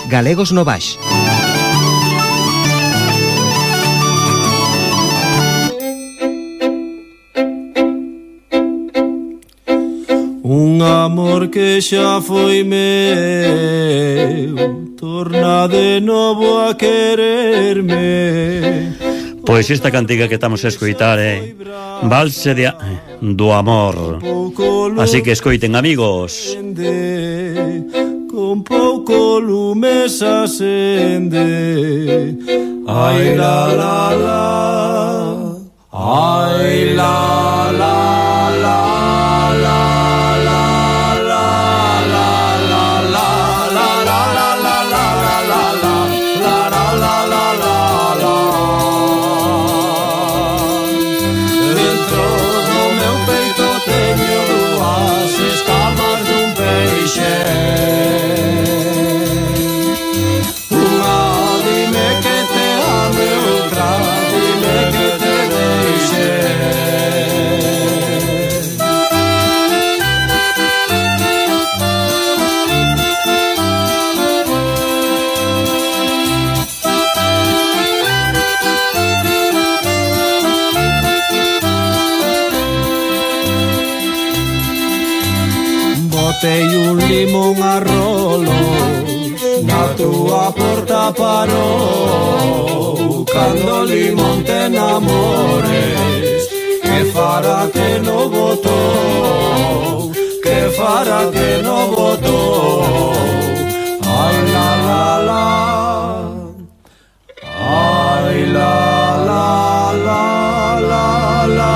Galegos no Baix. Un amor que xa foi meu, torna de novo a quererme. Pois esta cantiga que estamos a escoitar é Valse do Amor. Así que escoiten, amigos. Con pouco lume se acende. Ai la la la, ai la la la. Botei un limón a rolos, na túa porta parou. Cando o limón te enamores, que fará que no botou, que fará que no botou. Ai la la la, ai la la la la la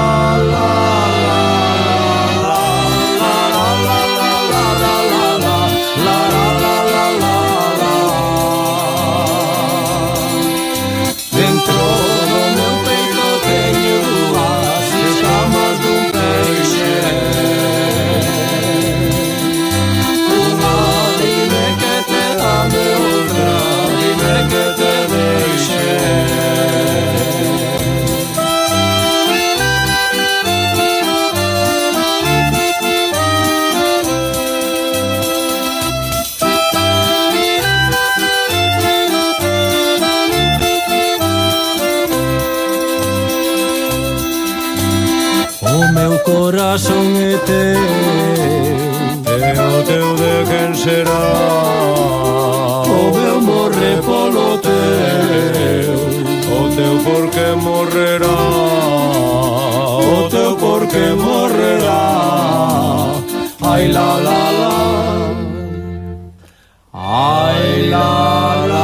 la. Corazón é teu, é o teu de quen será. O meu morre polo teu, o teu porque morrerá, o teu porque morrerá. Ai la la la, ai la la.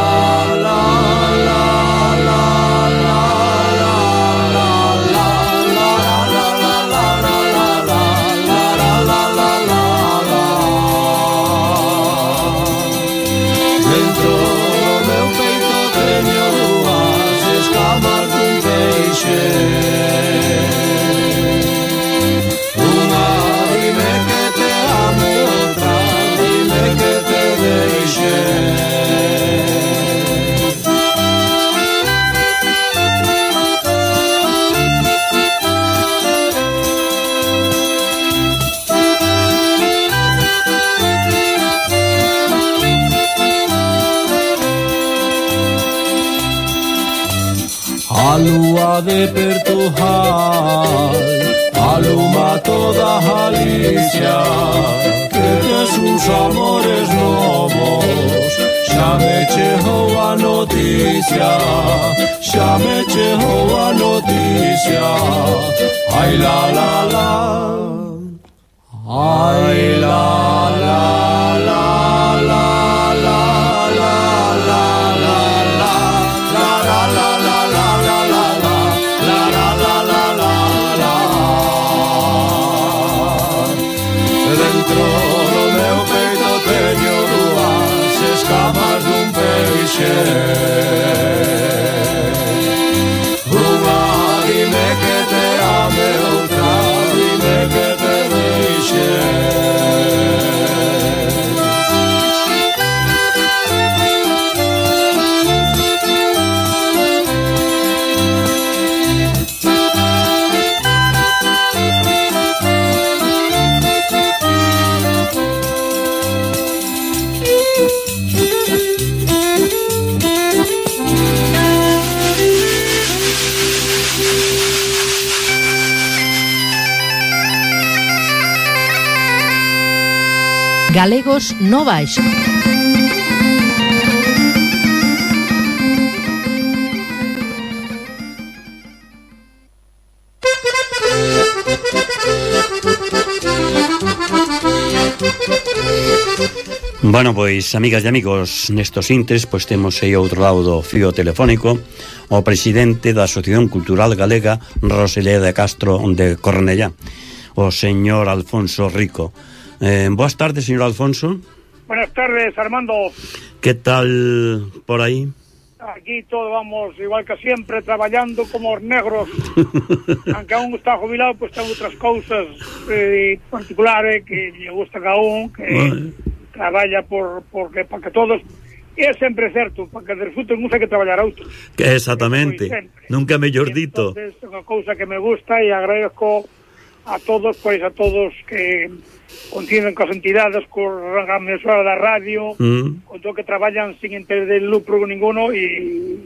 A lúa de Portugal aluma toda Galicia, que tes uns amores novos. Xa me chegou a noticia, xa me chegou a noticia. Ai la la la, ai la la la la la la la la la la la la. Dentro do meu peito teño dúas escamas dun peixe. Unha dime que te ame, outra dime que te deixe. Galegos no Baixo. Bueno, pois, amigas e amigos, nestos intres, pois temos aí outro lado do fío telefónico o presidente da Asociación Cultural Galega Rosalía de Castro de Cornellá, o señor Alfonso Rico. Boas tardes, señor Alfonso. Buenas tardes, Armando. Que tal por aí? Aquí todos vamos igual que siempre, traballando como os negros. Aunque aún está jubilado, pues ten outras cousas particulares que lle gusta a un, que traballa para que todos. E é sempre certo, para que disfruten uns hai que traballar a outros. Exactamente, nunca mellor dito. Entonces, é unha cousa que me gusta e agradezco a todos, pois a todos que continuen coas entidades, coa emisora da radio, con todo que traballan sin interés de lucro ninguno e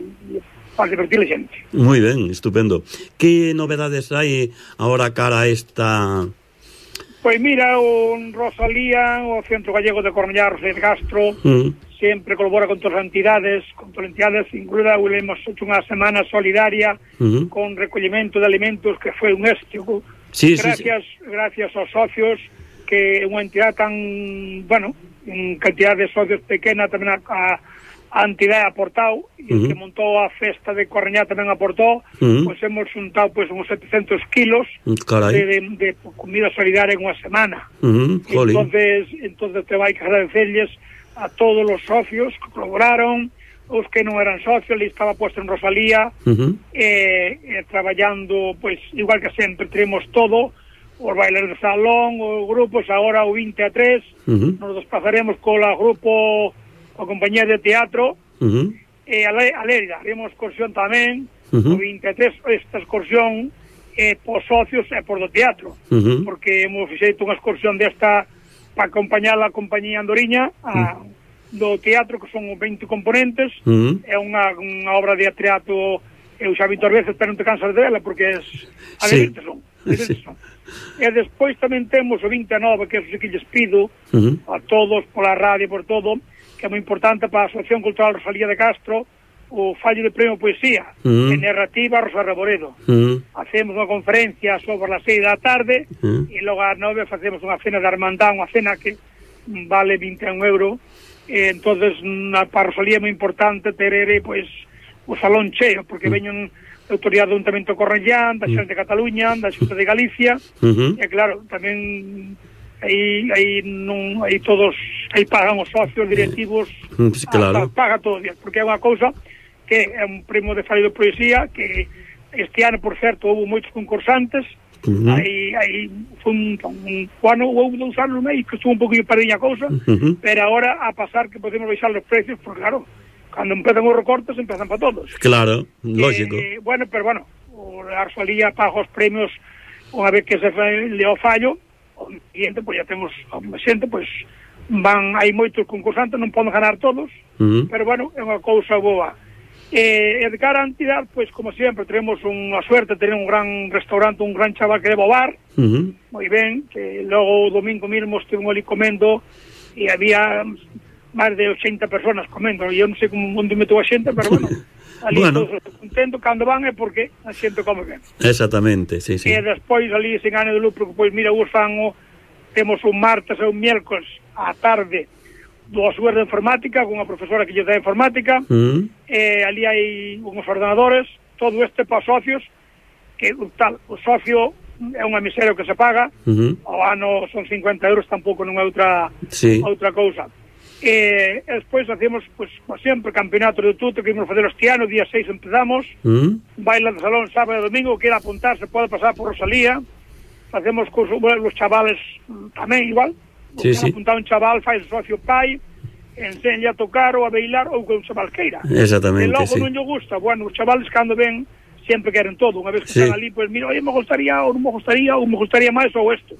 para divertir a xente. Moi ben, estupendo. Que novedades hai agora cara a esta... Pois mira, o Rosalía, o Centro Gallego de Cornellá, Rosalía de Castro, sempre colabora con todas as entidades, incluída, hemos hecho unha semana solidaria con recollimento de alimentos que foi un éxito. Sí, gracias aos socios, que é unha entidade tan, bueno, en cantidad de socios pequena tamén a entidade aportado, e el que montou a festa de Cornellá tamén aportou, pois hemos juntado pois uns 700 kilos de comida solidaria en unha semana. Entonces te vai que agradecerles a todos os socios que colaboraron, os que non eran socios, ali estaba puesto en Rosalía, traballando, pois, igual que sempre, tenemos todo, os bailes de salón, os grupos, agora o 20 a 3, nos desplazaremos co grupo, a compañía de teatro, e a Lérida, haremos excursión tamén, o 20 a 3, esta excursión por socios e por do teatro, porque hemos feito unha excursión desta para acompañar a compañía andoriña, do teatro, que son 20 componentes, é unha obra de teatro, eu xa vi todas veces, pero non te cansas dela, porque a divertir son. E despois tamén temos o 29, que é o que lles pido a todos, pola radio, por todo, que é moi importante para a Asociación Cultural Rosalía de Castro, o fallo de premio Poesía, en narrativa Rosa Reboredo. Hacemos unha conferencia sobre as 6 da tarde, e logo ás 9 facemos unha cena de Armandán, unha cena que vale 21 euros, entonces para Rosalía é moi importante ter pois o salón cheo, porque veñen da autoridade do Ayuntamiento de Cornellán, da Xunta de Cataluña, da Xunta de Galicia, e claro, tamén aí todos, aí pagan os socios directivos, paga todo bien, porque é unha cousa que é un premio de fallo de poesía, que este ano, por certo, houve moitos concursantes, aí foi un ano, houve 2 anos meio que estuvo un poquinho perdida a cousa, pero agora a pasar que podemos baixar os precios, porque claro, cando empezan os recortes, empezan para todos. Claro, lógico. Pero a Rosalía paga os premios unha vez que se le o fallo, o siguiente, pois ya temos a xente, pois hai moitos concursantes, non podemos ganar todos, pero é unha cousa boa. E de cara a entidade, pois como sempre, tenemos unha suerte, tenemos un gran restaurante, un gran chaval que leva o bar, moi ben, que logo o domingo mesmo estivemos ali comendo, e había máis de 80 personas comendo, e eu non sei onde metou a xente, pero ali todos contento, cando van é porque a xente come ben. Exactamente, sí. E despois ali, sen ánimo de lucro, pois mira, temos un martes e un miércoles á tarde, 2 horas de informática, con unha profesora que lle dá informática, ali hai uns ordenadores, todo este para socios, que o socio é unha miseria que se paga, ao ano son 50 euros, tampouco non é outra cousa. E despois hacemos, pois, como sempre, campeonato de tuto, que íbamos facer este ano, día 6 empezamos, baila de salón sábado e domingo, queda apuntar, se pode pasar por Rosalía, facemos con os chavales tamén igual, apuntar un chaval, faz socio pai, enseña a tocar ou a bailar ou que un chaval queira. Exactamente, e logo non lle gusta, os chavales cando ven sempre queren todo, unha vez que están ali, pois mira, me gustaría, ou non me gustaría, ou me gustaría máis ou isto.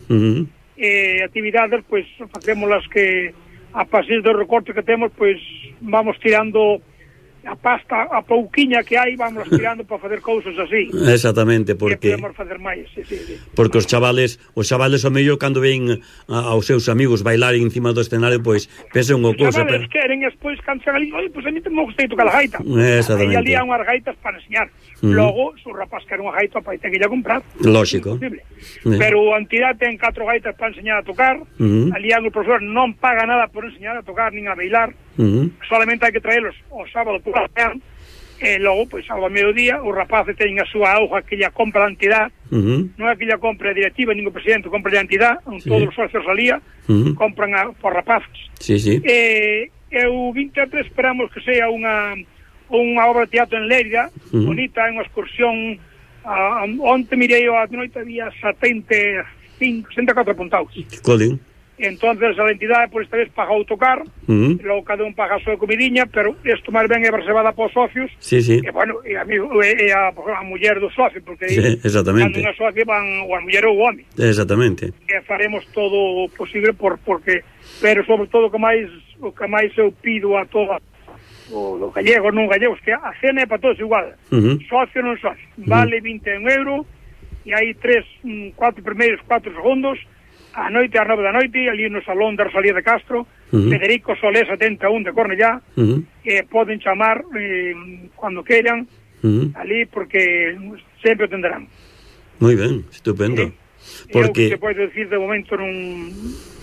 Actividades, pois, facemos las que a partir do recorte que temos, pois, vamos tirando a pasta, a pouquiña que hai, vamos tirando para facer cousas así. Exactamente, porque podemos facer máis, sí. Porque os chavales ao mellor cando ven aos seus amigos bailar encima do escenario, pois pensan unha cousa, pero... Os chavales queren, despois cando chegan ali, pois a mí me gostei tocar a gaita. Exactamente. E ali hai unhas gaitas para enseñar. Logo, se o rapaz quer unha gaita, pai ten que lle comprar. Lógico. Pero a entidade ten 4 gaitas para enseñar a tocar. Ali o profesor non paga nada por enseñar a tocar nin a bailar. Solamente hai que traelos o sábado por la mañana, e logo, pois, ao mediodía, os rapaces teñen a súa hoja que lla compra a entidade. Non é que lla compre a directiva, nin o presidente, compra a entidade, todos os socios alía, compran por rapaces. E o 23 esperamos que sea unha obra de teatro en Lérida, bonita, unha excursión. Onte mirei a noite, había 74 apuntados. Colin. Entonces a entidade por esta vez pagou tocar, logo cada un paga a súa comidinha, pero isto máis ben é reservada para os socios. E bueno, e a muller do socio, porque exactamente, cando unha socio van o a muller ou o home. Exactamente. E faremos todo o posible porque, pero sobre todo o que máis eu pido a todos os gallegos, non gallegos, que a cena é para todos igual, socio non socio, vale 21 euros, e hai 4 primeiros, 4 segundos, a noite ás 9 da noite, ali no salón da Rosalía de Castro, Federico Solé 71 de Cornellá, poden chamar cando queiran, ali, porque sempre o tenderán. Moi ben, estupendo. Porque... Eu que podo decir de momento non...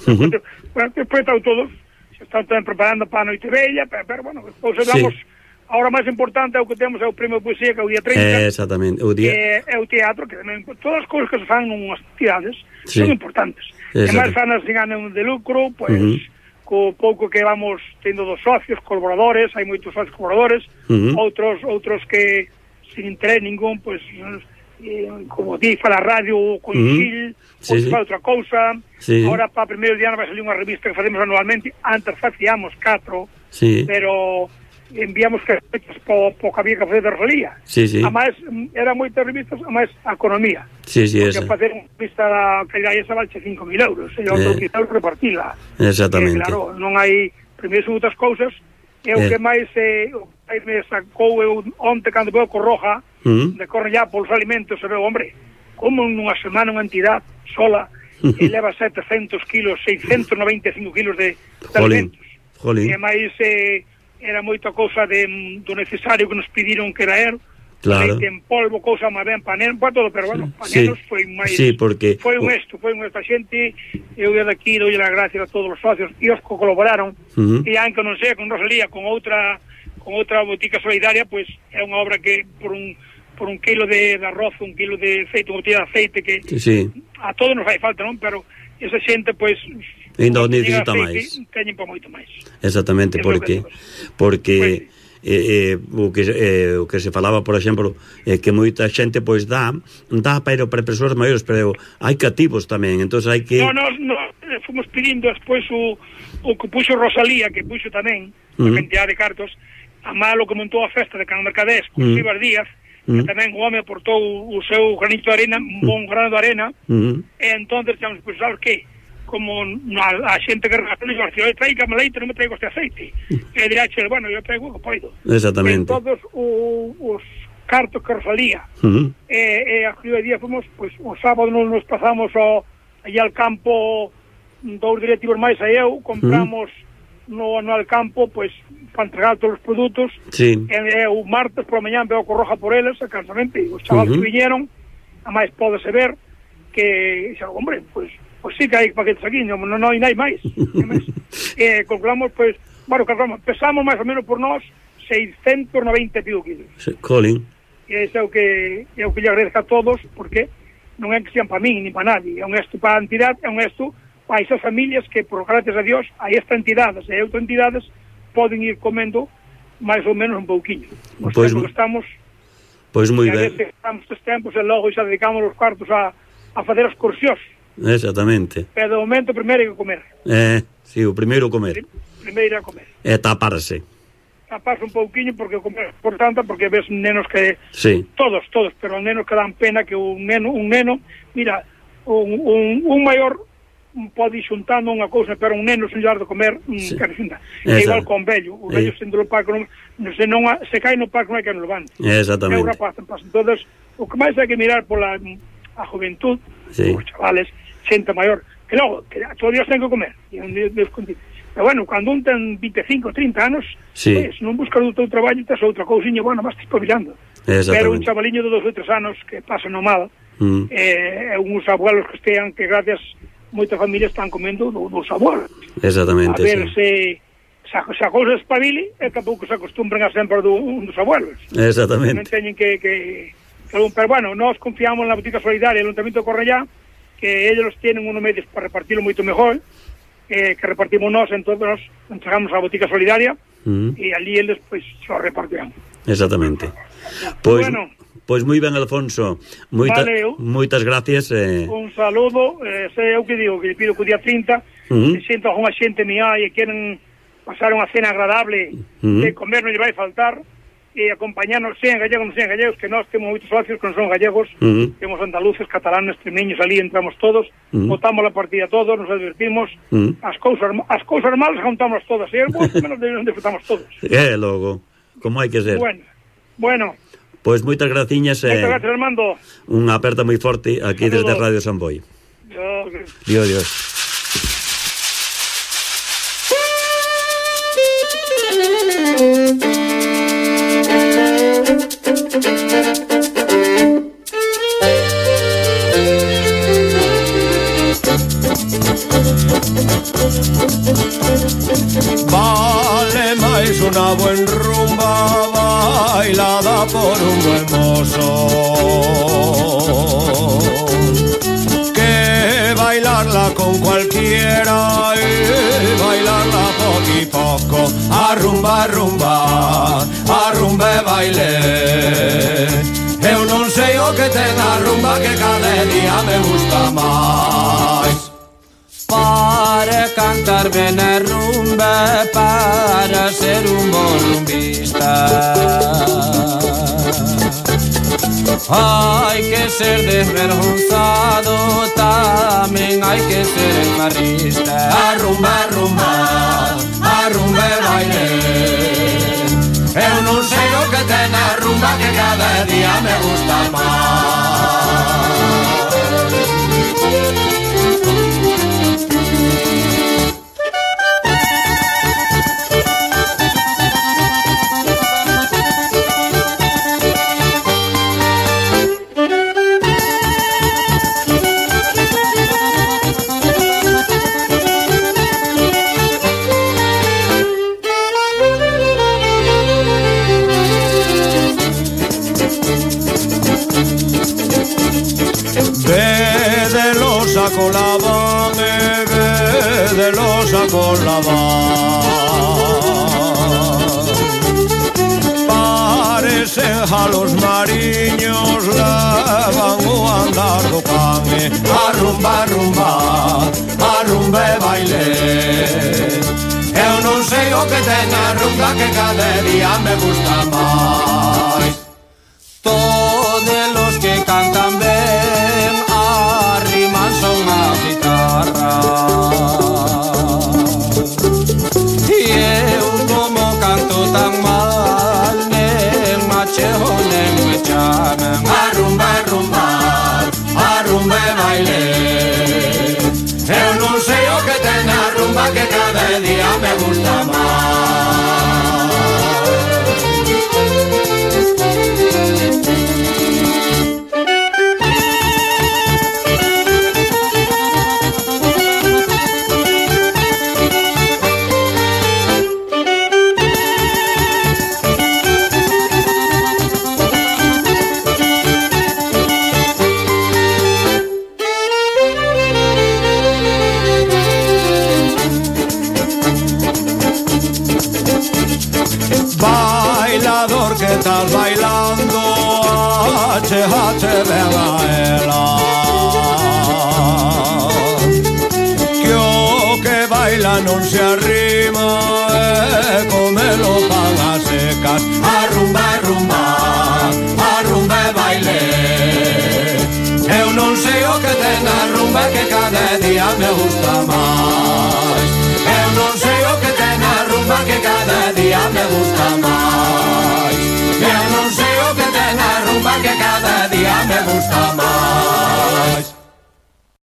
Despois están todos, se están tamén preparando para a noite bella, pero bueno, depois vamos... Ahora máis importante é o que temos, é o premio de poesía, que é o día 30. Exactamente. É o teatro, que tamén, todas as cousas que se fan nunhas entidades son importantes. E máis fanas sin ánimo de lucro, pois, co pouco que vamos tendo dos socios, colaboradores, hai moitos socios colaboradores, outros que sin interés ningún, pois, como di, fala radio, coincil, pois fala outra cousa. Ahora, para o primeiro día vai salir unha revista que facemos anualmente, antes facíamos 4, pero... enviamos carpetas po que había que facer de Rosalía. Además, eran moitas revistas, además, a economía. Porque facer unha revista que hai esa valche 5.000 euros, e outro 5 euros repartila. Exactamente. Claro, non hai primeiro son outras cousas, e o que máis me sacou onte cando veo Corroja, de Cornellá polos alimentos, e veo, hombre, como nunha semana unha entidade sola e leva 700 kilos, 695 kilos de alimentos. E máis... era moita cousa do necesario que nos pediron que era leite en polvo, cousa máis ben panel, para todo, pero bueno, panelos foi máis... porque... Foi un esto a xente, eu de aquí dou as gracias a todos os socios, e os que colaboraron, e aunque non sei, con Rosalía, con outra botica solidaria, pois é unha obra que por un kilo de arroz, un kilo de aceite, unha botella de aceite, que a todos nos fai falta, non? Pero esa xente, pois... ainda o necesita máis. Teñen para moito máis. Exactamente, porque o que se falaba, por exemplo, que moita xente pois dá para persoas maiores, pero hai cativos tamén, entonces hai que... No, fomos pedindo despois o que puxo Rosalía, que puxo tamén a cantidade de cartos, a malo que montou a festa de Can Mercadés con Sibas Díaz, que tamén o home aportou o seu granito de arena, un bon grano de arena, e entonces chamamos, pois, sabes que como a xente que regalou, eu traigo leite, non me traigo este aceite, e dirá, bueno, eu traigo o que poido. Exactamente. Todos os cartos que Rosalía, e a Río de Día fomos, pois, o sábado nos pasamos allá al campo, 2 directivos máis a eu, compramos no al campo, pois, para entregar todos os produtos, e o martes por a mañá veo Corroja por eles, exactamente, os chavales que viñeron, a máis podese ver que, hombre, pois sí que hai paquetes aquí, non hai máis. Calculamos, pois, bueno, pesamos máis ou menos por nós 690 pico kilos. Colin. E ese é o que lle agradezco a todos, porque non é que sean para min, ni para nadie, é un gesto para a entidade, é un gesto para esas familias que, por gracias a Dios, a esta entidades e a outras entidades poden ir comendo máis ou menos un pouquiño. Pois que estamos... Pois moi ben. Estamos estes tempos e logo xa dedicamos os cuartos a facer excursións. Exactamente. Pero de momento primeiro hai que comer. Sí, o primeiro comer. Primeiro a comer. E taparse. Taparse un pouquiño porque comer é importante, porque ves nenos que... Todos, pero nenos que dan pena que un neno, mira, un maior pode ir xuntando unha cousa, pero un neno sen lle dar de comer quere xuntar. É igual con vello, o vello sendo no parque se cai no parque non hai que non levante. Exactamente. É un rapaz, entonces o que máis hai que mirar pola a juventud, os chavales, xente maior, que logo, que todos os días ten que comer, pero bueno, cando un ten 25, 30 anos, pues, non buscas o teu traballo, tes outra cousiña, bueno, vas espabilando. Pero un chavaliño de 2 ou 3 anos que pasa no mal, uns abuelos que estean, que gracias moitas familias están comendo dos abuelos. Exactamente, a ver se a cousa espabile e tampouco se acostumbran a sempre dos abuelos. Exactamente. Non teñen que pero bueno, nós confiamos na botica solidaria do Ayuntamiento de Cornellá, que ellos tienen unos medios para repartirlo moito mejor, que repartimos nós, entonces nos entregamos a botica solidaria e ali eles pois lo repartirán. Exactamente. Pois bueno, pois moi ben, Alfonso, moitas gracias. Un saludo, sei eu que digo, que pido que o día 30 se sienta unha xente mía e queren pasar unha cena agradable, de comer non lle vai faltar, e acompañarnos, sean gallegos, non sean gallegos, que nós temos moitos socios que non son gallegos, temos andaluces, catalanes, extremeños, ali entramos todos, votamos a partida todos, nos advertimos, as cousas malas contamos todas, e as boas menos disfrutamos todos. Logo, como hai que ser. Bueno. Pois moitas graciñas. Moitas gracias, Armando. Unha aperta moi forte aquí desde Radio San Boi. Dios. Vale máis unha buen rumba bailada por un buen mozo que bailarla con cualquiera y bailarla poco y poco. Arrumba, arrumbe baile. Eu non sei o que ten a rumba que cada día me gusta máis. Para cantar ben a rumba, para ser un bon rumbista, hai que ser desvergonzado, tamén hai que ser enmarrista. Arrumba, arrumbe baile. Eu non sei o que ten a rumba que cada día me gusta máis. Con la van, de los con la van. Parecen a los mariños, levan o andar do can. Arrumba, arrumbe baile. Eu non sei o que ten a rumba que cada día me gusta máis. Todos los que cantan ben arriman son a guitarra, e eu como canto tan mal nen machejo nen me chaman. Arrumba, arrumbe baile. Eu non sei o que ten a rumba que cada día me gusta máis. Bailador que estás bailando, achejate ven a ela, que o que baila non se arrima, comelo pan a secas. Arrumba, arrumbe baile. Eu non sei o que ten a rumba que cada día me gusta día me gusta máis. Eu non sei o que ten a rumba que cada día me gusta